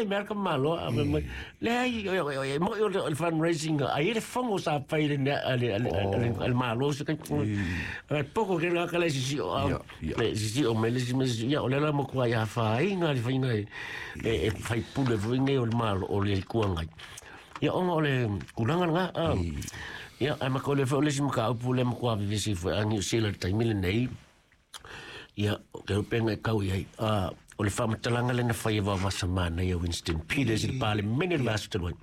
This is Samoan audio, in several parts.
e mea ka malo a me mai. Leai, e mo'i o le fundraising, ai e le fongo sa fai le le malo se kai. Ai poko ke la kala sisi o le sisi o me le sisi ia o le la mo kwa ia fa inga le fainga e fai pule foi ngai o le malo o le kuangai. Ia ona o le kulanga nga ia ai ma ko le foi le sima ka upu le mo kwa vivisi foi angi o sila taimi le nei. Ia ke upenga e kau iai o le faamatalaga lena fai e vaovasamana ia Winston Peters i le Palemene le vaiaso talu ai.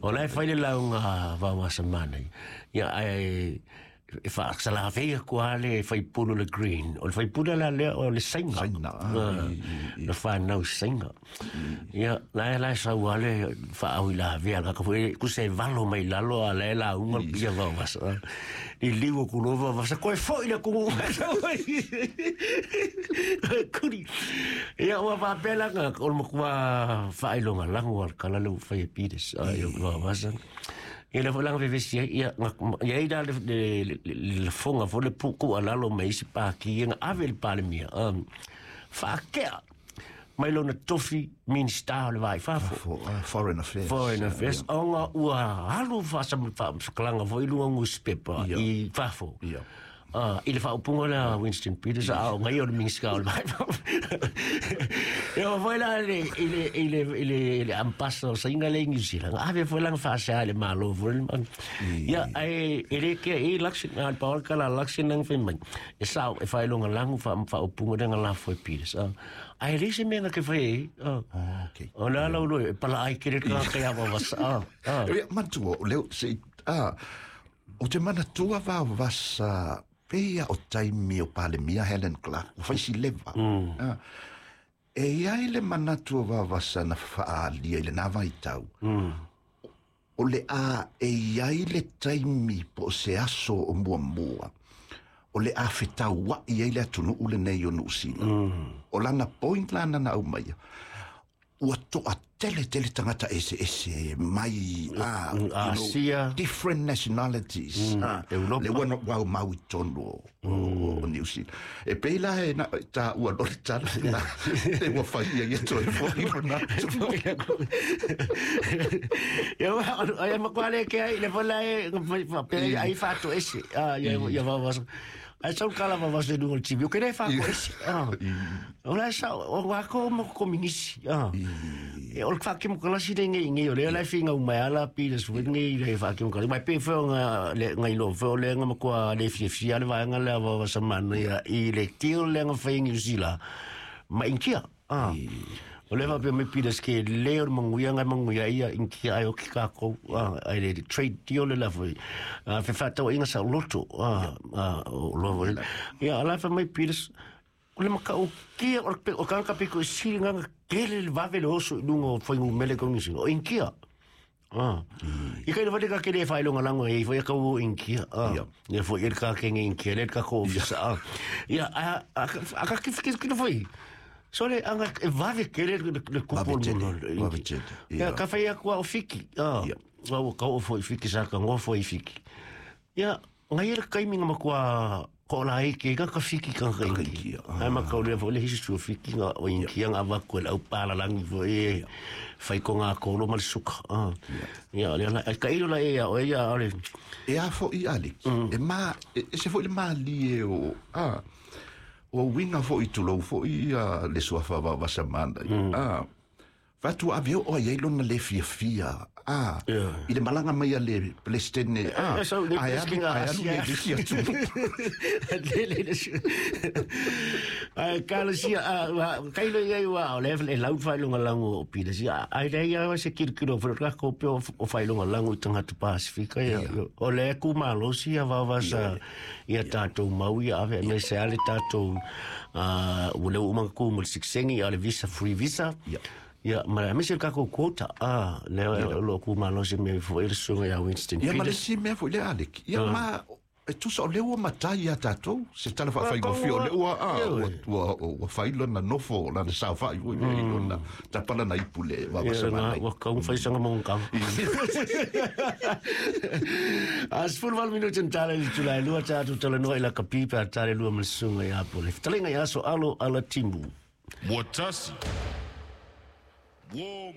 O la e fai le lauga vaovasamana ia ae e faasalavei atu lava le faipule o le Green. O le faipule la lea o le Saina. Na fanau i Saina. Ia, la e la e sau lava le faauilavea a le tagata foi, tusa e valo mai lalo a o la e lauga le pia vaovasa. Liliu atu loa vaovasa, toe foi le atunuu. Kuli. Ia, ua faapea la, o le matua faailogalanu lava o le tala lea ua fai e Peters, ai o vaovasa. Ia lea foi la na vevesi ai, ia, na, i ai la le lafoga foi le tuualalo mai isi pati ia na ave i le Palemia, faatea mai lona tofi Minista o le Va i Fafo. Foreign Affairs. Foreign Affairs, ona ua alu faasalaga foi i luga o nusipepa i fafo. I le faaupuga lea a Winston Peters, a o ngai o le Minista o le Va i Fafo. E oo foi la i le ambassador o Saina lea i New Zealand, ave foi lana faasea i le Malo foi. Ia, ae e le kea e Luxon, a le paola kala Luxon nang fai mai. E sao, e whailonga langu whaaupunga le nga lafo e Peters. Ae le se mea nga ke whai e. Okay. O le ala ulo e pala ai kere ka kai awa wasa. Ia, matua, o leo, se, o te manatua vaovasa, pei o taimi o Palemia Helen Clark, ua fai si leva. E i ai le manatu o vaovasa na faalia i lenā vaitau. O le a e i ai le taimi po o se aso o muamua, o le a fetaua'i ai le atunuu lenei o Niu Sila. O lana point lana na aumaia, ua toatele tele tagata eseese mai you know, Asia. Different nationalities Europa. Le ua ua mau i tonu o New Zealand. E pei la e na ta ua lo le tala la le ua fai ia ia toe foi lona. Ia ai ma kwale ke ai le vola e pe ai fato ese. Ah ia ia va va. Ai sau kala va va se du o TV. O ke le fato ese. O la sa o wa ko mo kominisi. E o le whake mo kalasi le ngai ngai o le la finga u mai ala pi le sui ngai le whake mo kalasi. Mai pe fo nga le ngai lo fo le nga makua le fia fia le vaenga le ava wa samana ia i le tio le nga whai New Zealand. Ma inkia. O le whapea me Peters ke le o manguia ngai manguia ia inkia ai o ki kākou. Ai le trade deal le la foi. Fe whātau inga sa loto. O lo foi. Ia, ala wha mai Peters, o le maka o kia o le o kanga piko i siri nganga kele le vave le oso i lunga o whaingu mele kongi o inkia. I kai le wale ka kele e whailonga lango e i ka o inkia. Ia foi el ka kenge inkia, le ka ko ofisa. Ia, a ka ki ki ki foi. So le anga e vave kele le kupo Vave tele, no. Vave tele, Ia, ia. ka whai aku o fiki. Wa ka o foi fiki sa ka ngo foi fiki. Ia, ngai le kaimi nga makua ko la e ke ka fiki ka ka inki. Inki, Ai ma ka o le fo le hisi su fiki nga o inki nga va ko le au pala langi fo e fai ko nga ko lo mal suka. Ia, le la ka ilo la e ia o ia o le E a foi Alex, e ma e se foi le mali e o o winga foi tulou foi ia le suafa vaovasamana. Fatu ave o ai lona le fia fia. I le malaga mai a le Pelestene. So, le Ai alu Pelestine ai alu Asia. le isi atu. Le ai kala sia kai le ia wa o le le lau fai longa lango o pila sia ai le ia se kilo kilo fo ka ko pe o fai longa lango i tangata Pasifika ia o le ku malo sia va va sa ia tātou mau ia ave me se ale tātou o le uma ku mo siksengi ale visa free visa. Ia, ma me se ka ko quota le lo ku malo se me fo ele sunga ia Winston Ia ma le Peters. si mea foi le Alec. Ia ma e tusa o le ua matai ia tātou, se tala whaawhai o le ua, ua whai lona nofo, lana saofai ua i lona, tapala na ipu le Ia, vaovasamana. Nga, ua kau whai sanga mong kau. A 18 minuti na tala i tulai lua tātou tala noa i la kapipa a tala lua malasunga i apo. Le fitalenga i aso alo ala timu. Ua tasi. Ua